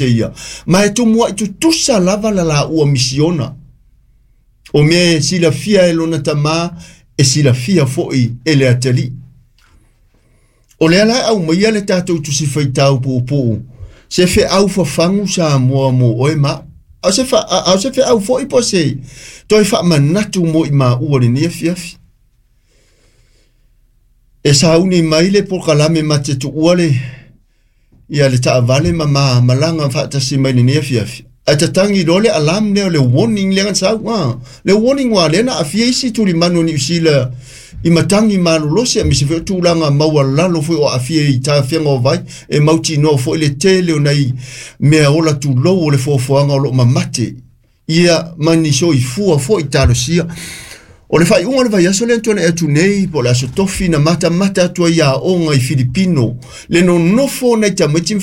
te ia, ma e tumua'i tutusa lava la laua misiona. O mea e silafia e lona Tamā, e silafia foi e le Atalii. O lea la e aumaia le tatou Tusi Faitau puupuu, se feau fafagu Samoa mo oe ma au. A o se, fa, a o se feau foi po se toe faamanatu mo i maua lenei afiafi. E sauni mai le polokalame ma te tuua le ia le taavale ma ma malaga faatasi mai lenei afiafi. Ae tatagi loa le alarm lea o le warning lea na sau. Ah, le warning ua lea na aafia isi tulimanu o Niu Sila i matagi malolosi aemaise foi o tulaga maualalo foi o aafia i tafega o vai e mautinoa foi le tele o nai mea ola tulou o le foafoaga o lo o mamate ia ma ni soifua foi talosia. O le faaiuga o le vaiaso lea na tuanai atu nei, po o le aso tofi na matamata atu ai aoga i Filipino, le nonofo o nai tamaiti ma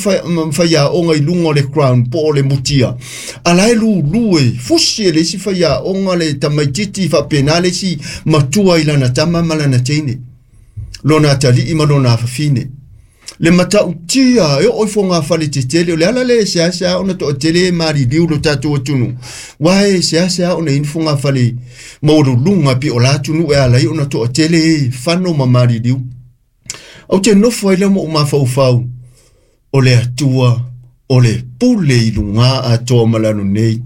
faiaoga i luga o le ground po o le mutia, a la e lulu e fusi e le isi faiaoga le tamaititi faapena le isi matua i lana tama ma lana teine, lona atalii ma lona afafine. Le matautia e oo i fogafale tetele, o le ala lea e seasea ona toatele e maliliu lo tatou atunuu, aua e seasea ona i ai ni fogafale maualuluga pei o la atunuu e ala ai ona toatele e fano ma maliliu. Ou te nofo ai lea ma ou mafaufau, o le Atua o le pule i luga atoa ma lalo nei,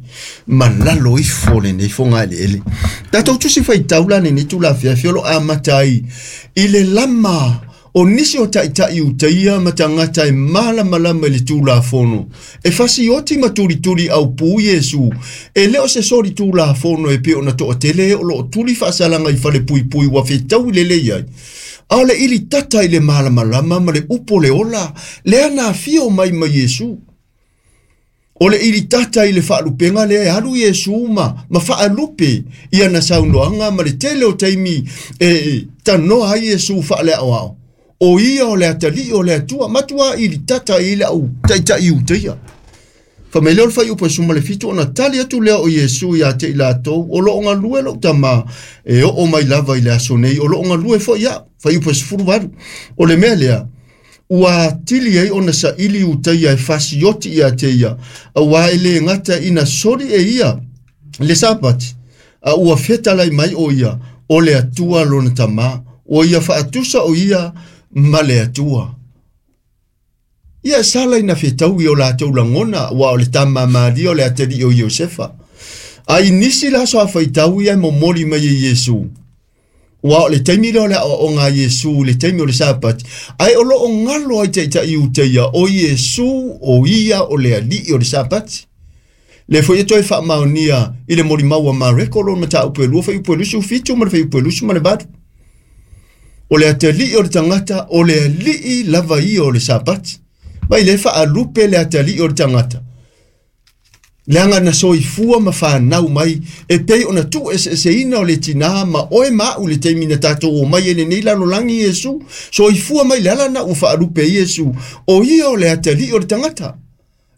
ma lalo ifo o lenei fogaeleele. Tatou tusi faitau la lenei itula afiafi o lo o amata ai i le lama o nisi o taitai Iutaia ma tagata e malamalama i le Tulafono, e fasioti ma tulituli aupu Iesu, e le o se soli Tulafono e pei ona toatele e o lo o tuli faasalaga i falepuipui ua fetaui lelei ai, a o le ilitata i le malamalama ma le upu o le ola lea na afio mai ma Iesu. O le ilitata i le faalupega lea e alu Iesu ma, ma faalupe i ana saunoaga ma le tele o taimi e tanoa ai Iesu faaleaoao. O ia o le atalii o le Atua, matua ilitata i le au taitai Iutaia. Fai mai lea o le fuaiupu e 17, ona tali atu lea o Iesu ia te i latou, o lo o galue lou tama e oo mai lava i le aso nei, o lo o galue foi au. Fuaiupu e 18, o le mea lea, ua atili ai ona saili Iutaia e fasioti ia te ia, aua e le gata ina soli e ia le Sapati, a ua fetalai mai o ia, o le Atua lona Tama, ua ia faatusa o ia ma le Atua. Ia sala ina fetaui o latou lagona, aua o le tama a Maria o le atalii o Iosefa. A i nisi la aso a faitau ia e momoli mai e Iesu, Ua o le taimi lea o le aoaoga a Iesu i le taimi o le Sapati, ae o lo o galo ai taitai Iutaia o Iesu o ia o le Alii o le Sapati. Lea foi e toe faamaonia i le molimau a Mareko lona mataupu e 2 fuaiupu e 27 ma le fuaiupu e 28. O le atalii o le tagata, o le Alii lava ia o le Sapati. Mai lea e faalupe le atalii o le tagata. Leaga na soifua ma fanau mai e pei ona tuueseeseina o le tinā ma oe ma au i le taimi na tatou omai ai i lenei lalolagi Iesu, soifua mai le ala na ua faalupe ai Iesu, o ia o le atalii o le tagata.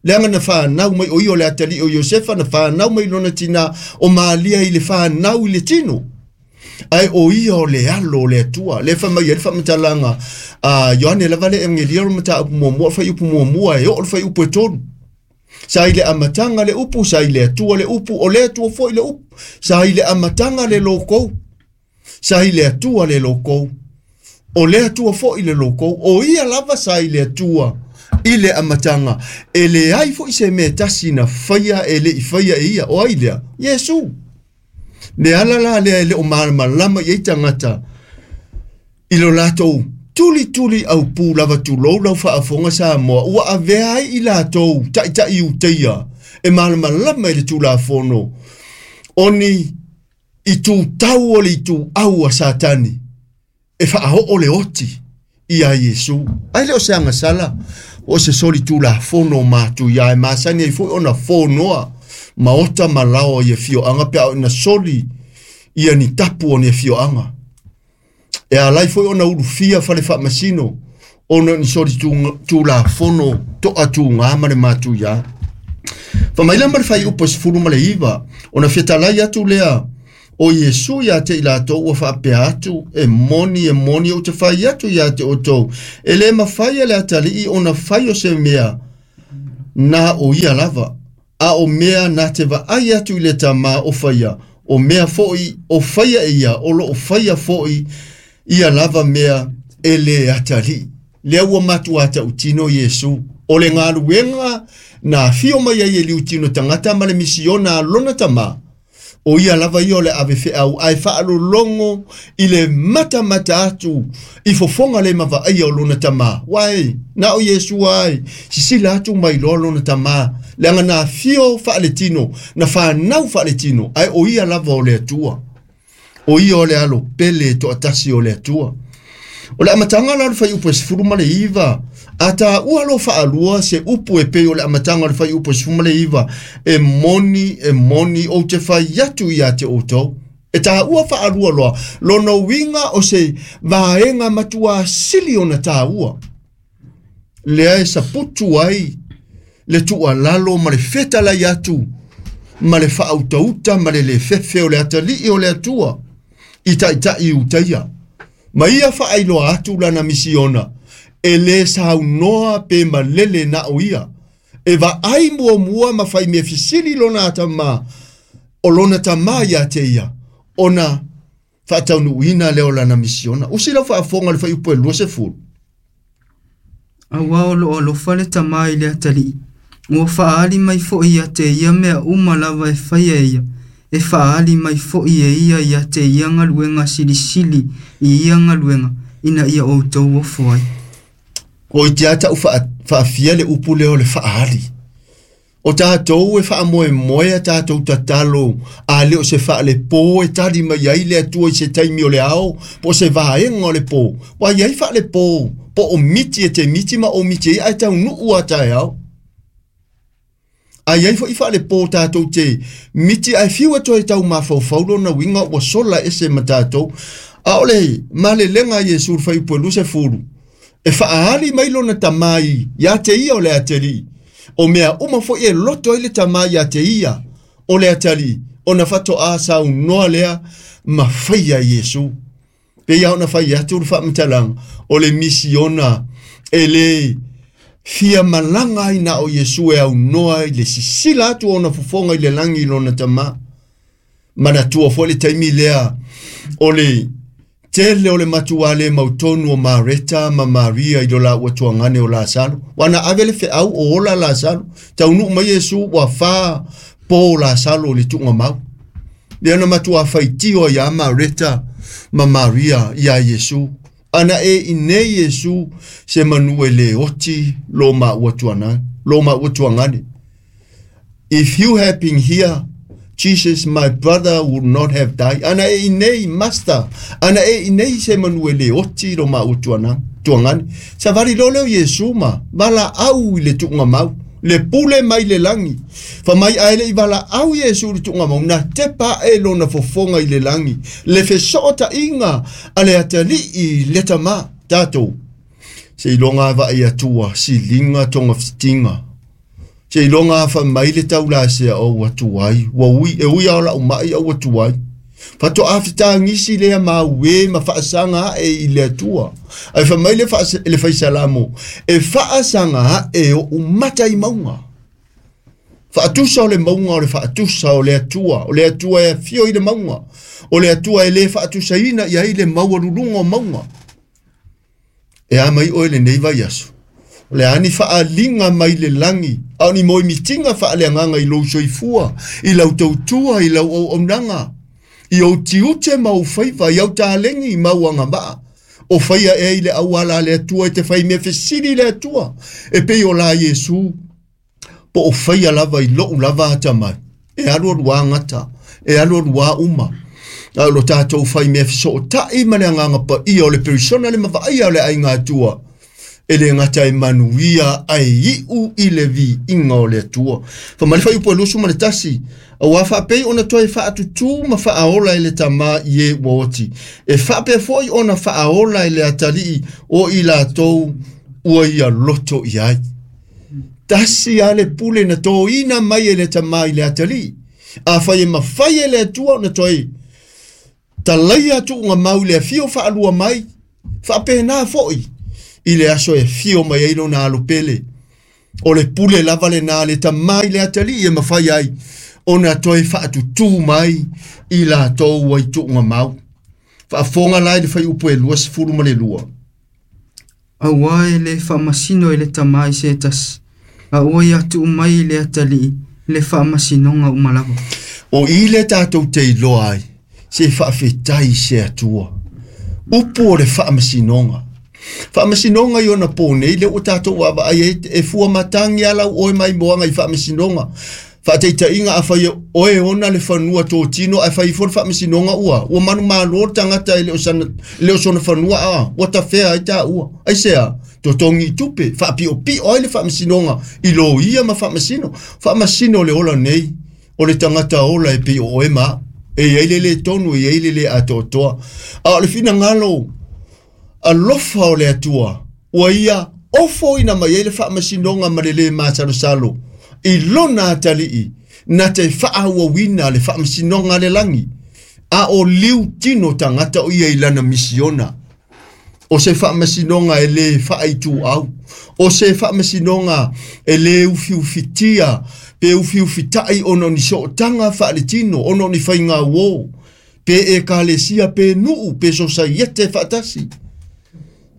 Leaga na fanau mai o ia o le atalii o Iosefa, na fanau mai lona tinā o Malia i le fanau i le tino. Ae o ia o le alo o le Atua. Lea e fai mai ai le faamatalaga a Ioane lava le Egelia o le mataupu muamua, o le fuaiupu muamua e oo i le fuaiupu e 3. Sa i le amataga le upu, sa i le Atua le upu, o le Atua foi le upu. Sa i le amataga le logou, sa i le Atua le logou, o le Atua foi le logou. O ia lava sa i le Atua i le amataga. E leai foi se mea e tasi na faia e le i faia e ia. O ai lea? Iesu. Le ala la lea e le o malamalama i ai tagata i lo latou tulituli aupu lava tulou lau faafofoga Samoa, ua avea ai i latou taitai Iutaia e malamalama i le Tulafono o ni itutau o le ituau a Satani e faaoo le oti iā Iesu. Ai le o se agasala, o se soli tulafono matuia e masani ai foi ona fonoa maota ma laoa i afioaga pe a oo ina soli ia ni tapu o ni afioaga. E ala ai foi ona ulufia fale faamasino ona o ni soli tulafono toatugā ma le matuia. Fai mai la ma le fuaiupu e 19, ona fetalai atu lea o Iesu ia te i latou ua faapea atu, E moni, e moni, ou te fai atu ia te outou, e le mafai e le atalii ona fai o se mea na o ia lava. A o mea na te vaai atu i le Tamā o faia, o mea foʻi o faia e ia, o loo faia foʻi ia lava mea e le atalii. Lea ua matuā tautino Iesu. O le galuega na afio mai ai e liutino tagata ma le misiona a lona Tamā, o ia lava ia o le ave feau ae faalologo i le matamata atu i fofoga le mavaaia o lona Tamā. Uae, na o Iesu ai, sisila atu mai loa lona Tamā, leaga na afio faaletino, na fanau faaletino, ae o ia lava o le Atua. O ia o le alo pele toatasi o le Atua. O le amataga la o le fuaiupu e 19, a taua lo faalua se upu e pei o le amataga o le fuaiupu e 19, e moni, e moni, ou te fai atu ia te outou. E taua faalua loa, lona uiga o se vaega matuā sili ona taua. Lea e saputu ai le tuualalo ma le fetalai atu ma le faautauta ma le lefefe o le atalii o le Atua i taitai Iutaia. Ma ia faailoa atu lana misiona, e lē saunoa pe malele na o ia. E vaai muamua ma fai mea fesili lona atamā, o lona Tamā ia te ia, ona faataunuuina lea o lana misiona. Usi lau faafofoga le fuaiupu e 20. Auā o loo alofa le Tamā i le atalii, ua faaali mai foʻi ia te ia mea uma lava e faia e ia. E faaali mai foʻi e ia ia te ia galuega silisili i ia galuega, ina ia outou ofo ai. Ko i te ata u faafia le upu lea o le faaali. O tatou e faamoemoe a tatou tatalo, a le o se faalepō e tali mai ai le Atua i se taimi o le ao, po o se vaega o le pō. Ua i ai faalepō, po o miti e te miti ma o miti ai ae taunuu a taeao. A i ai foʻi faalepō tatou te miti ae fiu e toe tau mafaufau lona uiga ua sola ese ma tatou. A o le malelega a Iesu i le fuaiupu e 20, e faaali mai lona Tamā ia te ia o le atalii. O mea uma foʻi e loto ai le Tamā ia te ia o le atalii, ona faatoā saunoa lea ma faia Iesu. Pe ia ona fai atu le faamatalaga, o le misiona e lē fia malaga ai na o Iesu e aunoa i le sisila atu ona fofoga i le lagi i lona Tamā. Manatua foʻi le taimi lea o le tele o le matuā le mautonu o Mareta ma Maria i lo laua tuagane o Lasalo. Ua na ave le feau o ola Lasalo. Taunuu mai Iesu ua fā pō Lasalo i le tuugamau. Lea na matuā faitio ai ia Mareta ma Maria iā Iesu. Ana e i nei Iesu se manu e lē oti lo maua tuana, lo maua tuagane. If you had been here, Jesus, my brother would not have died. Ana e i nei, Master, ana e i nei se manu e lē oti lo maua tuana, tuagane. Savali loa lea o Iesu ma valaau i le tuugamau, le pule mai le lagi. Fa mai ae leʻi valaau Iesu i le tuugamau, na tepa ae lona fofoga i le lagi, le fesootaiga a le atalii le Tamā. Tatou, seiloga a vaai Atua, siliga togafitiga. Seiloga a fai mai le taulasea o ua tuai, ua ui, e ui a o lau mai a ua tuai. Faatoā fetagisi lea mauē ma faasaga ae i le Atua. Ae fai mai le faisalamo, e faasaga ae oʻu mata i mauga. Faatusa o le mauga o le faatusa o le Atua, o le Atua e afio i le mauga, o le Atua e lē faatusaina i ai le maualuluga o mauga. E a mai oe lenei vaiaso. O le a ni faaaliga mai le lagi, a o ni moemitiga faaleagaga i lou soifua, i lau tautua, i lau auaunaga, i ou tiute ma ou faiva, i au taleni ma au agavaa. O faia ea i le auala a le Atua e te fai mea fesili i le Atua, e pei o la Iesu, po o faia lava i lou lava atamai. E alu aluā gata, e alu aluā uma. A o lo tatou fai mea fesootai ma le agaga paia o le perisona le mavaaia o le aiga Atua, e lē gata e manuia ae iu i le viiga o le Atua. Fa mai le fuaiupu e 21, auā faapei ona toe faatutū ma faaola e le Tamā i e ua oti, e faapea foʻi ona faaola e le atalii o i latou ua ia loto i ai. Tasi a le pule na tōina mai e le Tamā i le atalii. Afai e mafai e le Atua ona toe talaia tuugamau i le afio faalua mai, faapena foʻi i le aso e afio mai ai lona alo pele. O le pule lava lena le tamai le atalii e mafai ai ona toe faatutū mai i latou ua i tuugamau. Faafofoga la i le fuaiupu e 22. Auā e lē faamasino e le Tamā i se tasi, a ua ia tuu mai i le atalii le faamasinoga uma lava. O i le tatou te iloa ai, se faafetai i se Atua. Upu o le faamasinoga. Faamasinoga i ona pō nei, lea ua tatou vaavaai ai, e fua matagi lava lau oe maimoaga i faamasinoga. Faataitaiga, afai e oe ona le fanua totino ae fai ifo le faamasinoga ua ua manumalo le tagata e le o sana le o sona fanua a ua tafea ai taua. Aisea? Totogi i tupe, faapiopio ai le faamasinoga i loia ma faamasino. Faamasino le ola nei o le tagata ola e pei o oe ma au. E i ai le le tonu, e i ai le le atoatoa. A o le finagalo alofa o le Atua, ua ia ofoina mai ai le faamasinoga ma le lē masalosalo i lona atalii na te faaauauina le faamasinoga a le lagi, a o liu tino tagata o ia i lana misiona. O se faamasinoga e lē faaituau, o se faamasinoga e lē ufiufitia pe ufiufitaʻi ona o ni sootaga faaletino, ona o ni faigauō, pe ekalesia, pe nuu, pe sosaiete faatasi.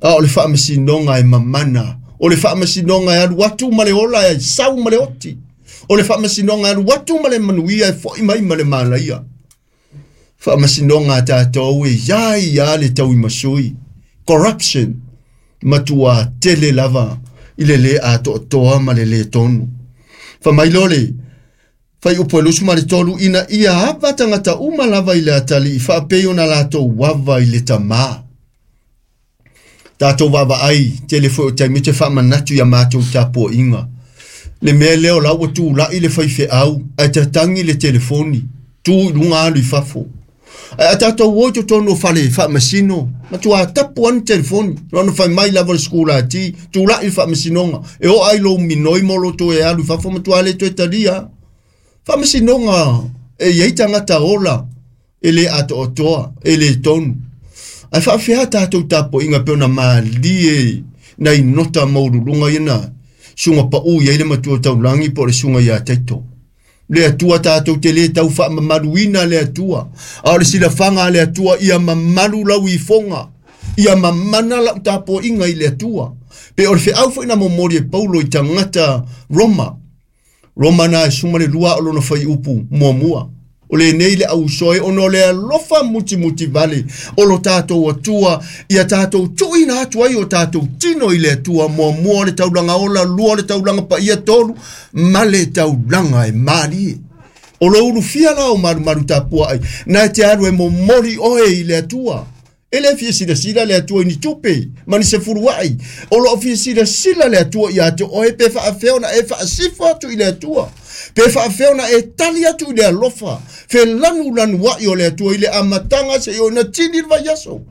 A o le faamasinoga e mamana, o le faamasinoga e alu atu ma le ola e sau ma le oti, o le faamasinoga e alu atu ma le manuia e foʻi mai ma le malaia. Faamasinoga a tatou e iā ia le tauimasui, corruption, matuā tele lava i le lē atoatoa ma le lē tonu. Fai mai loa le fuaiupu e 23, ina ia ava tagata uma lava i le atalii faapei ona latou ava i le tamā. Tatou vaavaai tele foi o taimi te faamanatu iā matou tapuaiga. Le mea lea o la ua tulai le faifeau ae tatagi le telefoni, tu i luga alu i fafo. Ae a tatou o i totonu o fale faamasino, matuā tapu lava ni telefoni. Na ona fai mai lava o le sikulati, tulai le faamasinoga, e oo lava i lou minoi ma lou toe alu i fafo, matuā le toe talia lava. Faamasinoga e i ai tagata ola e le atoatoa, e le tonu. Ae faafefea tatou tapuaiga pei ona malie nai nota maualuluga ia na suga paū i ai le matua taulagi po o le suga iā Taito. Le Atua tatou te lē tau faamamaluina le Atua, a o le silafaga a le Atua ia mamalu lau ifoga, ia mamana lau tapuaiga i le Atua. Pe o le feau foi na momoli e Paulo i tagata Roma, Roma na e 12 o lona fuaiupu muamua. O lenei le ausoe ona o le alofa mutimuti vale o lo tatou Atua ia tatou tuuina atu ai o tatou tino i le Atua, muamua o le taulaga ola, lua o le taulaga paia, tolu ma le taulaga e malie. O lo ulufia la o malumalu tapuai, na e te alu e momoli oe i le Atua. E le fia silasila le Atua i ni tupe ma ni sefuluai. O loo fia silasila le Atua ia te oe pe faafefea ona e faasifo atu i le Atua, pe faafefea ona e tali atu i le alofa felanulanuai o le Atua i le amataga seia oo ina tini le vaiaso.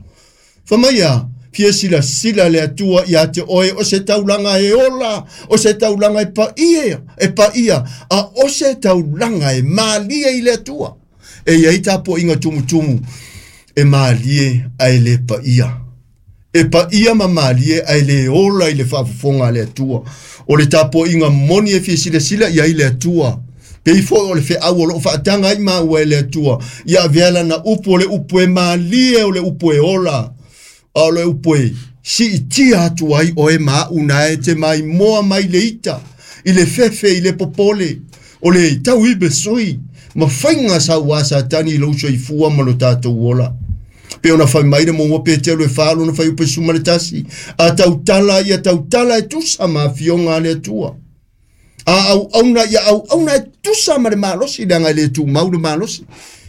Fai mai a fia silasila le Atua ia te oe o se taulaga e ola, o se taulaga e paia, e paia, a o se taulaga e malie i le Atua. E i ai tapuaiga tumutumu e malie ae le paia. E paia ma malie ae le ola i le faafofoga a le Atua. O le tapuaiga moni e fia silasila i ai le Atua. Pei foi o le feau o loo faataga ai maua e le Atua, ia avea lana upu o le upu e malie, o le upu e ola, a o le upu e siitia atu ai oe ma au na e te maimoa mai le ita, i le fefe, i le popole, o le tauimesui ma faiga sauā Satani i lou soifua ma lo tatou ola. Pe ona fai mai le muamua Petelo e 4 lona fuaiupu e 11, a tautala ia tautala e tusa ma afioga a le Atua. A auauna ia auauna e tusa ma le malosi, leaga e le tumau le malosi.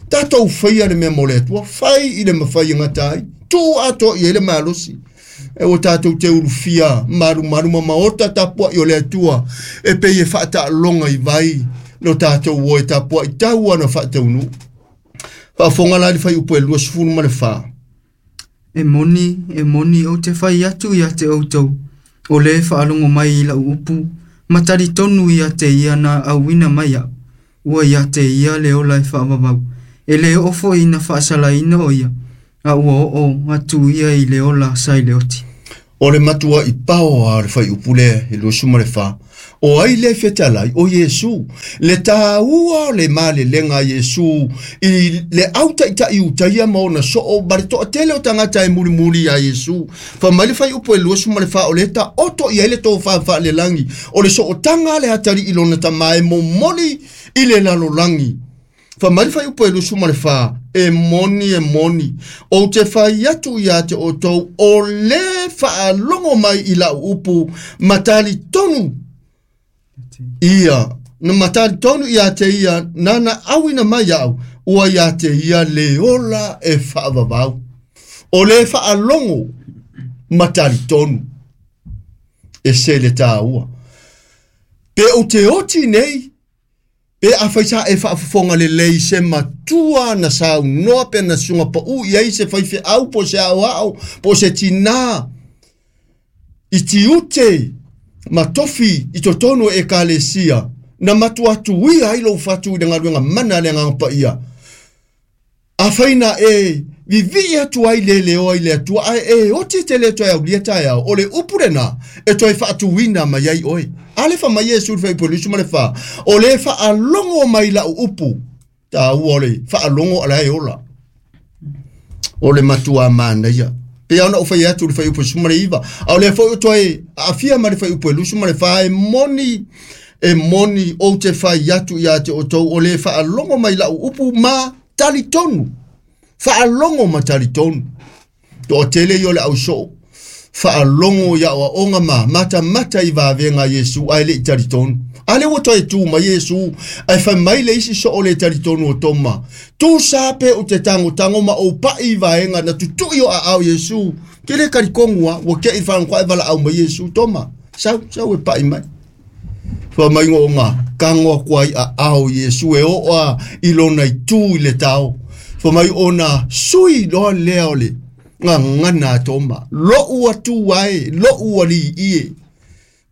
Tatou faia le mea mo le Atua, fai i le mafai e gata ai, tuu atoa i ai le malosi. E ua tatou te ulufia malumalu ma maota tapuai o le Atua, e pei e faataaloga i vai lo tatou o e tapuai tau ana faataunuu. Faafofoga la i le fuaiupu e 24. E moni, e moni, ou te fai atu ia te outou, o le faalogo mai i lau upu, ma talitonu ia te ia na auina mai a'u, ua ia te ia le ola e faavavau, e lē oo foi ina faasalaina o ia, a ua oo atu ia i le ola sa i le oti. O le matuaʻi paoa o le fuaiupu lea e 24. O ai le fetalai o Iesu le tāua o le malelega a Iesu i le autaʻitaʻi utaia ma ona soo ma le toʻatele o tagata e mulimuli iā Iesu. Fa mai le faiupu e 24 o le taoto i ai le tofā faalelagi o le sootaga a le atalii lona tamā e momoli i le lalolagi. Fa mai le faiupu e 24, e moni e moni ou te fai atu iā te outou o lē faalogo mai i lau upu ma talitonu ia na matalitonu ia te ia nana auina mai au ua ia te ia le ola e faavavau. O le faalogo matalitonu e se le tāua. Pe o te oti nei, pe a faisa e faafofoga lelei se matua na saunoa pe na suga pau i ai se faifeau po se aoao po se tinā i tiute ma tofi i totonu e ekalesia na matuatuia ai lou fatu i le galuega mana le agaga paia. A faina e vivii atu ai le leoa i le Atua ae e oti te le toe aulia taeao o le upu lenā e toe faatuina mai ai oe. A le fa mai Iesu le faiupu e 24 o le faalogo mai lau upu tāua o le faalogo a la e ola. O le matua manaia. Pe ona o fai atu le faiupu e 19. A o le foi o toe aafia ma le faiupu e 24 e moni e moni ou te fai atu ia te outou o le faalogo mai lau upu ma talitonu. Faalogo ma talitonu. Toatele i o le ausoo. Faalogo ia oaoga ma matamata i vavega Iesu ae leʻi talitonu. A le ua toe tu mai Iesu ae fai mai le isi soo le talitonu o Toma. Tu sa pe o te tagotago ma ou paʻi i vaega na tutuʻi o aao Iesu. Ke le kalikogu a ua keʻi faalogokua e valaau mai Iesu Toma. Sau, sau e paʻi mai. Fa mai ngoga kago aku ai aao Iesu e oo a i lona itu i le tao. Fa mai ona sui loa lea o le gagana a Toma. Loʻu atu ai, loʻu alii e.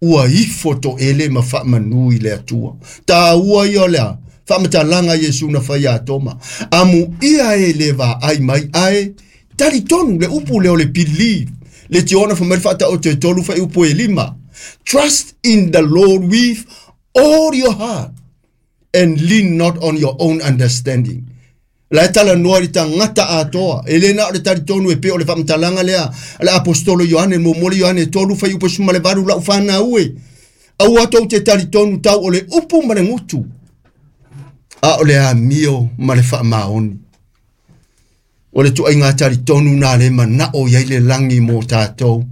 Ua ifo toʻele ma faamanu i le Atua. Tāua ia o lea. Faamatalaga Iesu na fai a Toma. Amu ia e le vaai mai ae talitonu le upu lea o le believe. Le tiona fa mai faataoto e 3 faiupu e 5. Trust in the Lord with all your heart and lean not on your own understanding. La e talanoa i le tagata atoa. E le na o le talitonu e pe o le faamatalaga lea a le apostolo Ioane momoli Ioane 3 faiupu 18 lau fanau e. Aua tou te talitonu tau o le upu ma le gutu. A o le amio ma le faamaoni. O le tuaiga talitonu na le manao i ai le lagi mo tatou.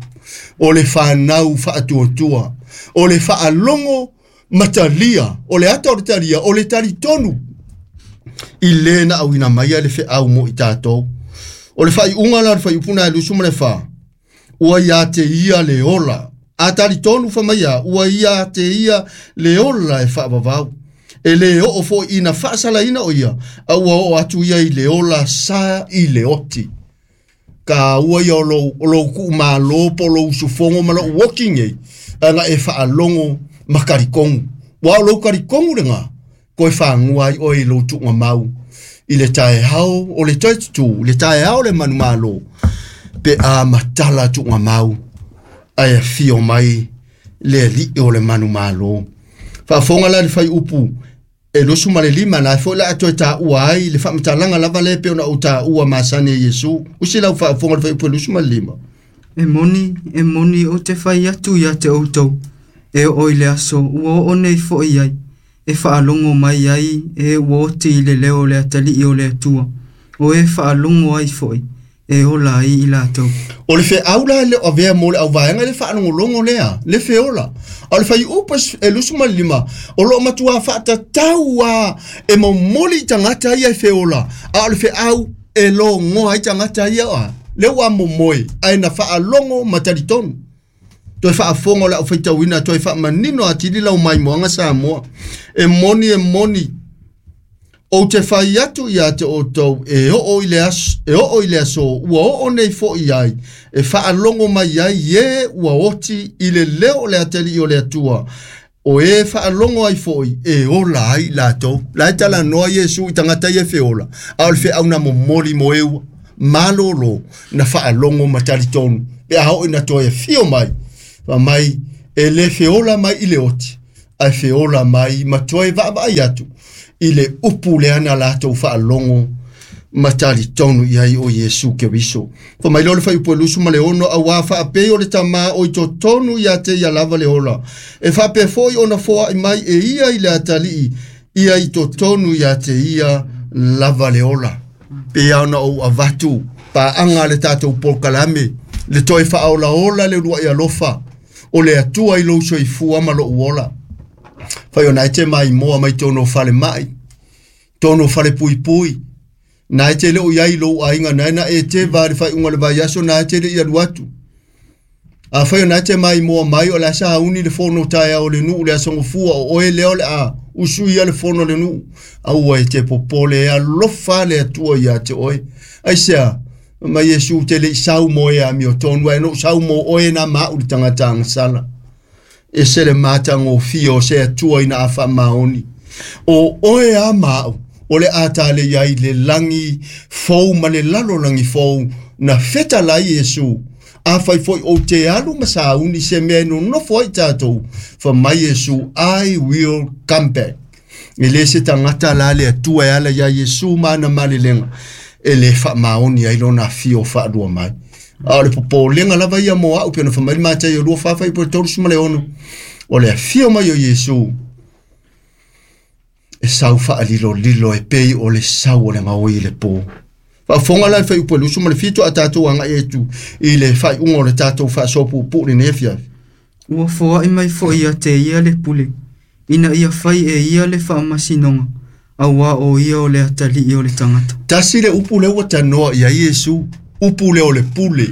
O le fanau faatuatua. O le faalogo matalia. O le ata o le talia. O le talitonu. I le na auina mai le feau mo i tatou. O le faaiuga la le faiupu na e 24. Ua ia te ia le ola. A talitonu fa mai ia, ua ia te ia le ola e faavavau. E le oo foi ina faasalaina o ia, a ua oo atu ia i le ola sa i le oti. Ka ua ia o lou kuu malo po lou usufogo ma lou oki nei, ana e faalogo ma kalikogu. Ua o lou kalikogu lenā, koe fagua ai oe i lou tuugamau. I le taeao o le toe tutū, le taeao le manumalo, pe a matala tuugamau, ae afio mai le alii o le manumalo. Faafofoga la le faiupu e 25 na foi la toe taua ai le faamatalaga lava le pe ona ou taua masani e Iesu. Usi lau faafofoga le faiupu e 25. E moni, e moni ou te fai atu ia te outou. E oo i le aso, ua oo nei foi ai. E faalogo mai ai e ua oti i le leo o le atalii o le Atua. O e faalogo ai foi, e ola ai i latou. O le feau la le o avea mo le auvaega le faalogologo lea, le feola. A o le faiupu e 25, o loo matua faatatau a e momoli i tagata ia e feola. A o le feau e logoa ai tagata ia a. Le ua momoe, ae na faalogo ma talitonu. Toe faafofoga o le aufaitauina toe faamanino atili lau maimoaga Samoa. E moni e moni ou te fai atu ia te outou e oo i le aso, e oo i le aso ua oo nei foi ai e faalogo mai ai e ua oti i le leo o le atalii o le Atua. O e faalogo ai foi e ola ai latou. La e talanoa Iesu i tagata ia feola. A o le feau na momoli mo eua. Malolo na faalogo ma talitonu. Pe a oo ina toe afio mai. Fa mai e le feola mai i le oti. Ae feola mai ma toe vaavaai atu i le upu lea na latou faalogo ma talitonu i ai o Iesu Keriso. Fa mai lea o le fuaiupu e 26, auā faapei o le Tamā o i totonu ia te ia lava le ola, e faapea foi ona foai mai e ia i le atalii ia i totonu ia te ia lava le ola. Pe ona ou avatu paaga le tatou polokalame, le toe faaolaola le uluai alofa o le Atua i lou soifua ma lou ola. Fai ona e te maimoa mai tonu o fale mai, tonu o fale puipui, na e te leo iai lou aiga, na e na e te va le whaiunga le vai aso, na e te le i alu atu. A whai ona e te maimoa mai o le asa hauni le fono taea o le nuu le aso ngofua o oe leo le a usui ia le fono le nuu. Aua e te popole e alofa le Atua ia te oe. Ai sea, ma Iesu te le i sau mo e a mio tonu, ai no sau mo oe na mau le tangata angasala. E se le matagofie o se Atua ina a faamaoni. O oe a mau, o le a tale iai le lagi fou ma le lalolagi fou na feta lai Iesu. A fai foi o te alu ma sauni se mea e nonofo ai tatou. Fa mai Iesu, I will come back. E le se tagata la le Atua e ala ia Iesu ma ana malelega. E le faamaoni ai lona afio faalua mai. A o le popolega lava ia mo au pe ona fai mai le Mataio 24 fuaiupu 36. O le afio mai o Iesu e sau faalilolilo e pei o le sau o le gaoi i le pō. Faafofoga la le fuaiupu e 27 a tatou agai atu i le faaiuga o le tatou faasoapuupuu lenei afiafi. Ua foai mai foi ia te ia le pule, ina ia fai e ia le faamasinoga, auā o ia o le atalii o le tagata. Tasi le upu lea ua tanoa ia Iesu, upu lea o le pule.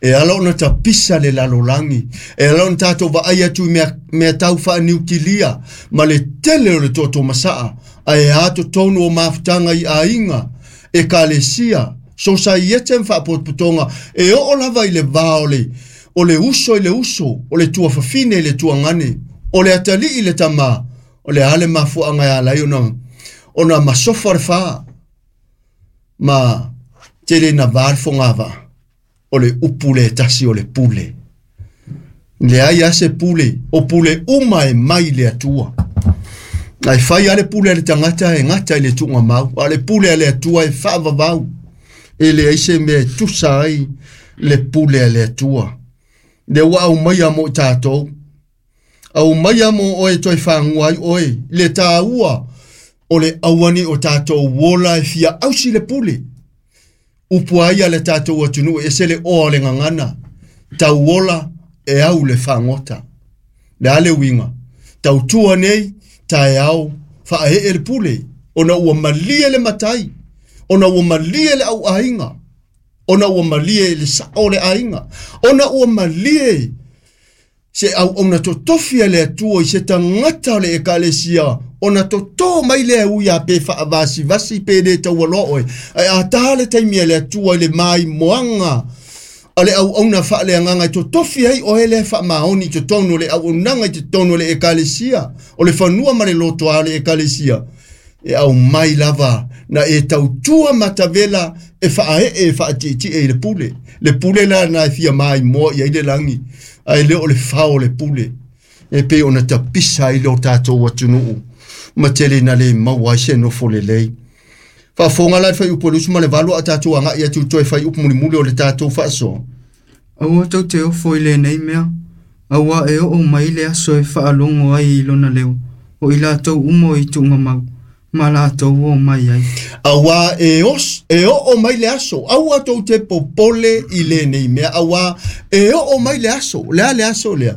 E ala ona tapisa le lalolagi, e ala ona tatou vaai atu i mea tau faaniutilia, ma le tele o le toto masaa, ae a totonu o mafutaga i aiga, ekalesia, sosaiete ma faapotopotoga, e oo lava i le va o le uso i le uso, o le tuafafine i le tuagane, o le atalii i le tamā, o le a le mafuaaga e ala ai ona masofa le fā, ma tele na va le fogavaa, o le upu le tasi o le pule. Le ai a se pule, o pule uma e mai le Atua. Ai fai a le pule a le tagata e gata i le tuugamau, a le pule a le Atua e faavavau. E leai se mea e tusa ai le pule a le Atua. Le ua aumaia mo i tatou. Aumaia mo oe toe fagua ai oe, le tāua o le auani o tatou ola e fia ausi le pule. Upu ai a le tatou atunuu e ese le oa o le gagana. Tauola e au le fagota. Le a le uiga. Tautua nei, taeao, faaee le pule. Ona ua malie le matai. Ona ua malie le au aiga. Ona ua malie le sao le aiga. Ona ua malie se au ona totofi a le Atua i se tagata o le ekalesia. Ona toto mai le ui a pe faavasivasi pe le taualoa oe. Ae a tā le taimi a le Atua i le maimoaga a le auauna faaleagaga e totofi ai oe lea faamaoni i totonu o le auaunaga i totonu o le ekalesia. O le fanua ma le lotoa o le ekalesia. E aumai lava na e tautua matavela e faaee e faatietie i le pule. Le pule la na e fia maimoa i ai le lagi. Ae le o le fao o le pule. E pei ona tapisa ai le o tatou atunuu. Ma tele na le maua ai se nofo lelei. Faafofoga la le fuaiupu e 28 a tatou agai atu toe fuaiupu mulimuli o le tatou faasoa. Aua tou te ofo i lenei mea, auā e oo mai le aso e faalogo ai i lona leo, o i latou uma o i tuugamau, ma latou o mai ai. Auā e, e oo mai le aso, aua tou te popole i lenei mea, auā e oo mai le aso, le a le aso lea.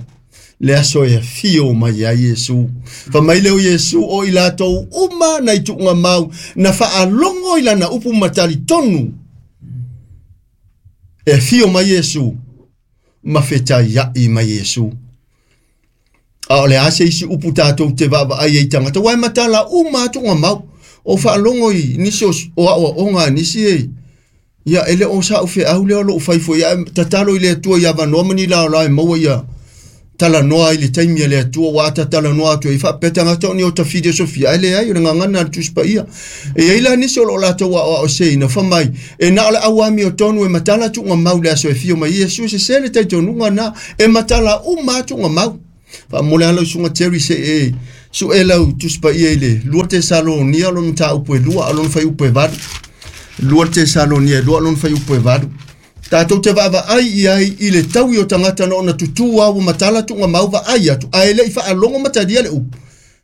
Le aso e afio mai ai Iesu. Fa mai leo Iesu o i latou uma na i tuugamau, na faalogo i lana upu ma talitonu. E afio mai Iesu, ma fetaiai mai Iesu. A o le a se isi upu tatou te vaavaai ai tagata, uae matala uma a tuugamau. O faalogo i nisi o aoaoga a nisi e, ia e le o sa'u feau lea o lou fai foi, ae tatalo i le Atua ia avanoa ma ni laolao e maua ia talanoa i le taimi a le Atua, ua ata talanoa atu ai faapea tagata o ni o ta filosofia, ae leai o le gagana a le Tusi Paia. E i ai la nisi o loo latou aoaoseina fa mai, e na o le auamiotonu e matala tuugamau le aso e fio mai Iesu, e sesē le talitonuga na, e matala uma a tuugamau. Faamole lava lau Susuga Jerry se i e su'e lau Tusi Paia i le 2 Tesalonia lona mataupu e 2 a o lona fuaiupu e 8. 2 Tesalonia e 2 lona fuaiupu e 8. Tatou te vaavaai i ai i le taui o tagata na ona tutū lava ua matala tuugamau vaai atu ae le i faalogo ma talia le upu.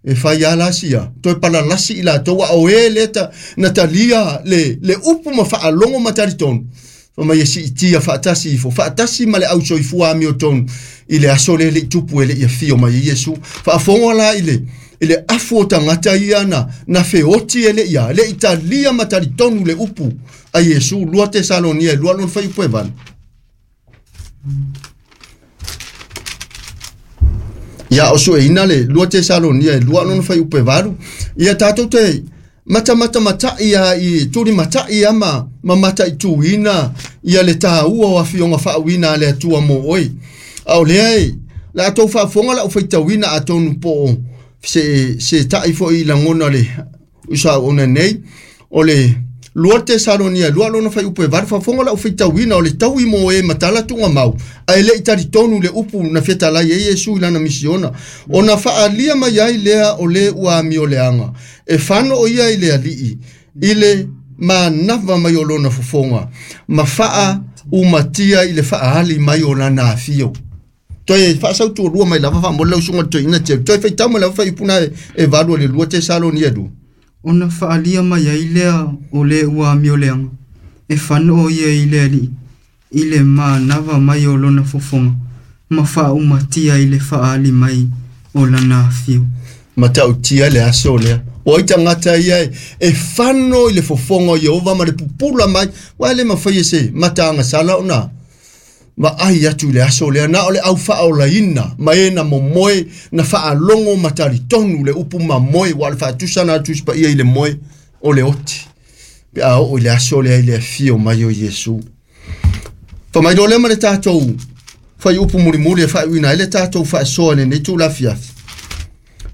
E fai lava la sia toe palalasi i latou a o e lea ta, na talia le, le upu ma faalogo ma talitonu. Fai mai e siitia faatasi ifo, faatasi ma le ausoifua amiotonu i le aso lea e le i tupu e le i afio mai ai Iesu. Faafofoga la i le, i le afu o tagata ia na, na feoti e le i a, le i talia ma talitonu le upu a Iesu. 2 Tesalonia e 2 lona fuaiupu e 8. Ia o sueina le 2 Tesalonia e 2 lona fuaiupu e 8. Ia tatou te matamata-matai a i tulimatai a ma, ma mataituina ia le tāua o afioga faauina a le Atua mo oe. A o lea e, le a tou faafofoga lau faitauina atonu po o se, se tai foi i lagona le usa nei, o le 2 Tesalonia 2 lona fuaiupu e 8, faafofoga lau faitauina o le taui mo e matala tuugamau, ae le i talitonu le upu na fetalai ai Iesu i lana misiona, ona faaalia mai ai lea o le ua amioleaga, e fano o ia i le alii, i le manava mai o lona fofoga, ma faa umatia i le faaali mai o lana afio. Toe faasautualua mai lava faamole lau susuga i le toeaina Jerry. Toe faitau mai lava fuaiupu na e 8 o le 2 Tesalonia 2. Ona faalia mai ai lea o le ua amioleaga, e fanoo ia i le alii, i le manava mai o lona fofoga, ma faaumatia i le faaali mai o lana afio. Matautia le aso lea. O ai tagata ia e fano i le fofoga o Ieova ma le pupula mai, ua e le mafai e se mataagasala ona vaai atu i le aso lea, na o le au faaolaina ma e na momoe na faalogo ma talitonu le upu mamoe, ua o le faatusa na Tusi Paia i le moe o le oti pe a oo i le aso lea i le afio mai o Iesu. Fai mai loa lea ma le tatou fuaiupu mulimuli e faaiuina ai le tatou faasoa i lenei itula afiafi.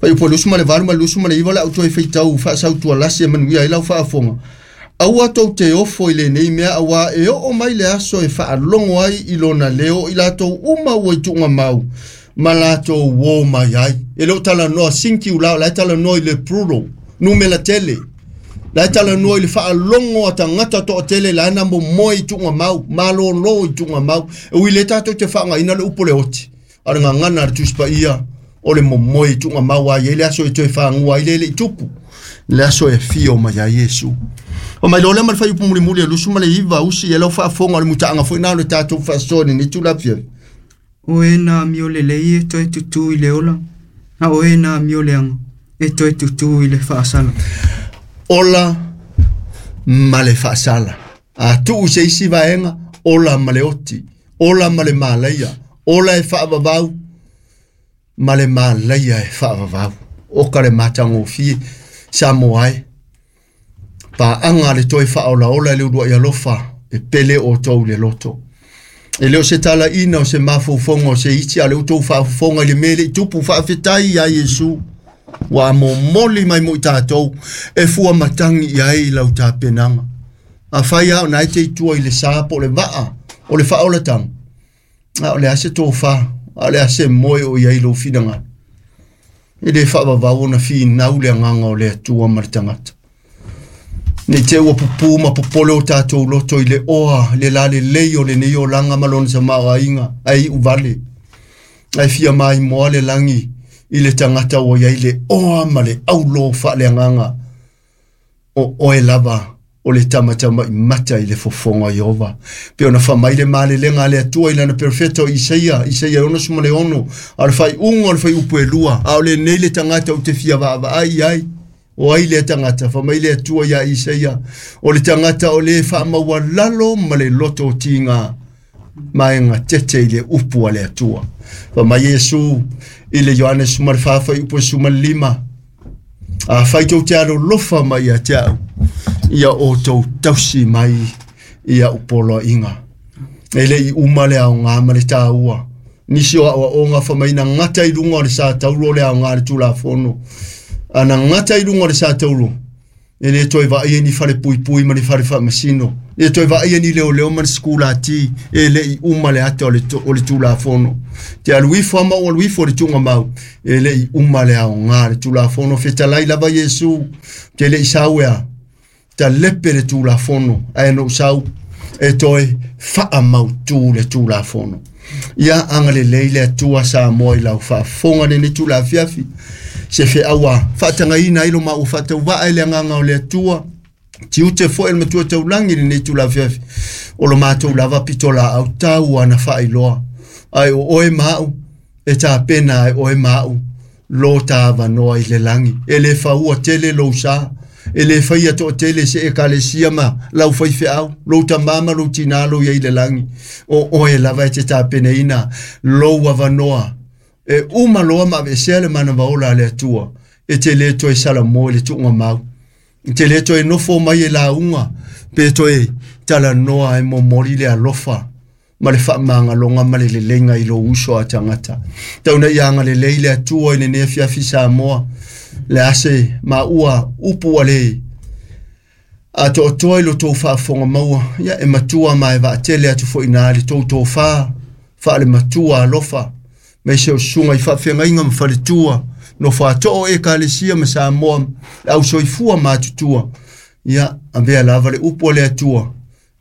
Fuaiupu 28 ma le 29 le au toe faitau faasautualasi e manuia ai lau faafofoga. Aua tou te ofo i lenei mea, auā e oo mai le aso e faalogo ai i lona leo i latou uma ua i tuugamau ma latou uō mai ai. E le o talanoa singular, o la e talanoa i le plural, numera tele. La e talanoa i le faalogo a tagata toatele la e na momoe i tuugamau, malōlō i tuugamau. E ui lea tatou te faaaogaina le upu o le oti, a o le gagana a le Tusi Paia o le momoe i tuugamau a i ai le aso e toe fagua ai le le i tupu, le aso e afio mai ai Iesu. O mai loa lea ma le fuaiupu mulimuli e 29 usi e lau faafofoga o le mutaaga foi na o le tatou faasoa i lenei itula afiafi. O e na amio lelei e toe tutū i le ola, a o e na amio leaga e toe tutū i le faasala. Ola ma le faasala. A tuu se isi vaega, ola ma le oti, ola ma le malaia, ola e faavavau ma le malaia e faavavau. O ka le matagofie Samoa e. Paaga le toe faaolaola i le uluai alofa e pele outou i le loto. E le o se talaina o se mafaufauga o se isi, a o le outou faafofoga i le mea e le i tupu. Faafetai ia Iesu ua momoli mai mo i tatou e fua matagi i ai lau tapenaga. Afai lava o na e te i tua i le sa po o le vaa o le faaolataga, a o le a se tofa, a o le a se moe o i ai lou finagalo. E le faavavau ona finau le agaga o le Atua ma le tagata. Nei te ua pupū ma popole o tatou loto i le oa, le lalelei o lenei olaga ma lona tamaoaiga, ae iu vale. Ae fia maimoa le lagi i le tagata ua i ai le oa ma le aulo faaleagaga. O oe lava o le tamatamai mata i le fofoga o Ieova. Pe ona fai mai le malelega a le Atua i lana perofeta o Isaia, Isaia 66, a o le faaiuga o le fuaiupu e 2, a o lenei le tagata ou te fia vaavaai i ai. O ai lea tagata? Fai mai le Atua iā Isaia, o le tagata o le faamaualalo ma le loto o tiga ma e gatete i le upu a le Atua. Fai mai Iesu i le Ioane 14 fuaiupu e 15, afai tou te alolofa mai ia te au, ia outou tausi mai i a'u poloaiga. E le i uma le aoga ma le tāua. Nisi o aoaoga fai mai na gata i luga o le sa taulo le aoga a le Tulafono. A na gata i luga o le sa taulo, E le toe vaaia ni falepuipui ma ni fale faamasino. E toe vaaia ni leoleo ma ni sikulati. E le'i uma le ata o le Tulafono. Te alu ifo a ma ou alu ifo i le tuugamau. E le'i uma le aogā le Tulafono. Fetalai lava Iesu. Te le'i sau ea. Talepe le Tulafono. Ae na ou sau e toe faamautū le Tulafono. Ia agalelei le Atua Samoa i lau faafofoga lenei tulafiafi. Se feaua faatagaina ai lo maua faatauvaa i le agaga o le Atua. Tiute foi le matua taulagi lenei tulafiafi. O lo matou lava pitolaau tau ana faailoa. Ae o oe ma au, e tapena ai oe ma au, lo tāvanoa i le lagi. E le faua tele lou sa. E le faia toatele se ekalesia ma lau faifeau, lou tamā ma lou tinā lou iai le lagi. O oe lava e te tapenaina lou avanoa. E uma loa ma aveesea le manava ola a le Atua. E te le toe salamo i le tuugamau. E te le toe nofo mai e lauga, pe toe talanoa e momoli le alofa ma le faamagaloga ma le leleiga i lou uso a tagata. Tau ina ia agalelei le Atua i lenei afiafi Samoa. Le ase maua upu a le atoatoa i lo tou faafofoga maua. Ia e matua ma e vaatele atu foi ina le tou tofā faalematua alofa. Ma se o susuga i faafeagaiga ma faletua. Nofo atoo ekalesia ma Samoa. Le ausoifua matutua. Ia avea lava le upu a le Atua.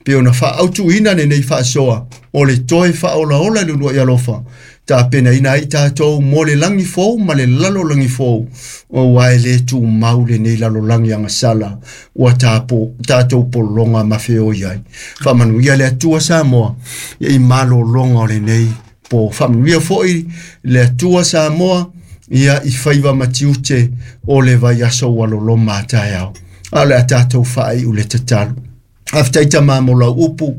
Pe ona faaautuina lenei faasoa. O le toe faaolaola i le uluai alofa. Tapenaina ai tatou mo le lagi fou ma le lalolagi fou. Auā e lē tumau lenei lalolagi agasala. Ua tatou pologa ma feoi ai. Faamanuia le Atua Samoa. Ia i malologa o lenei po. Faamanuia foi le Atua Samoa. Ia i faiva ma tiute o le vaiaso ua loloma a taeao. A o le a tatou faaiu le tatalo. Faafetai tamā mo lau upu.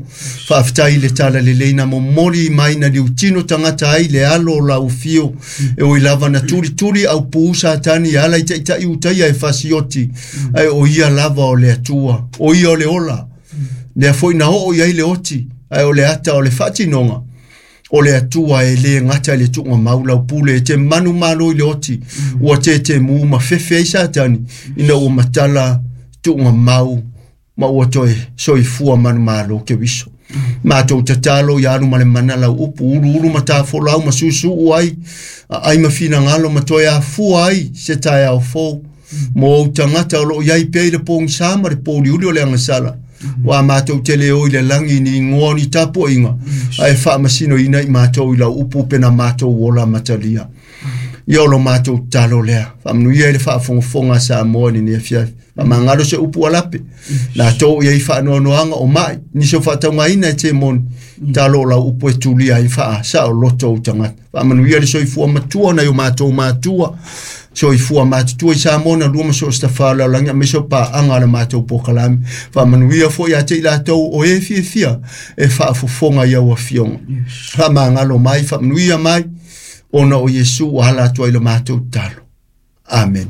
Faafetai i le talalelei na momoli mai na liutino tagata ai le alo o lau afio. E ui lava na tulituli au pū Satani e ala i taitai utaia e fasioti. Ae o ia lava o le Atua. O ia o le ola. Lea foi na oo i ai le oti. Ae o le ata o le faatinoga. O le Atua e lē gata i le tuugamau lau pule e te manumalo i le oti. Ua tetemū ma fefe ai Satani ina ua matala tuugamau ma ua toe soifua manumalo Keriso. Matou tatalo ia alu ma le mana lau upu uluulu ma tafolau ma susuu ai ai ma finagalo ma toe afua ai se taeao fou. Mo ou tagata o loo iai pea i le pogisā ma le pouliuli o le agasala. Ua matou tele o i le lagi ni ingoa o ni tapuaiga. Ae faamasinoina i matou i lau upu pe na matou ola matalia. Ia o lo matou tatalo lea. Faamanuia i le faafogafoga a Samoa i lenei afiafi. Faamagalo se upu alape. Latou i ai faanoanoaga o mai. Nisi o faataugaina e temoni. Talo o lau upu e tulia ai faasaoloto ou tagata. Faamanuia le soifua matua nai o matou matua. Soifua matutua i Samoa na lua ma so o se tafā o le lalolagi aemaise o paaga a le matou polokalame. Faamanuia foi ia te i latou o e fiafia e faafofoga i au afioga. Faamagalo mai, faamanuia mai, ona o Iesu ua ala atu ai lo matou tatalo. Amene.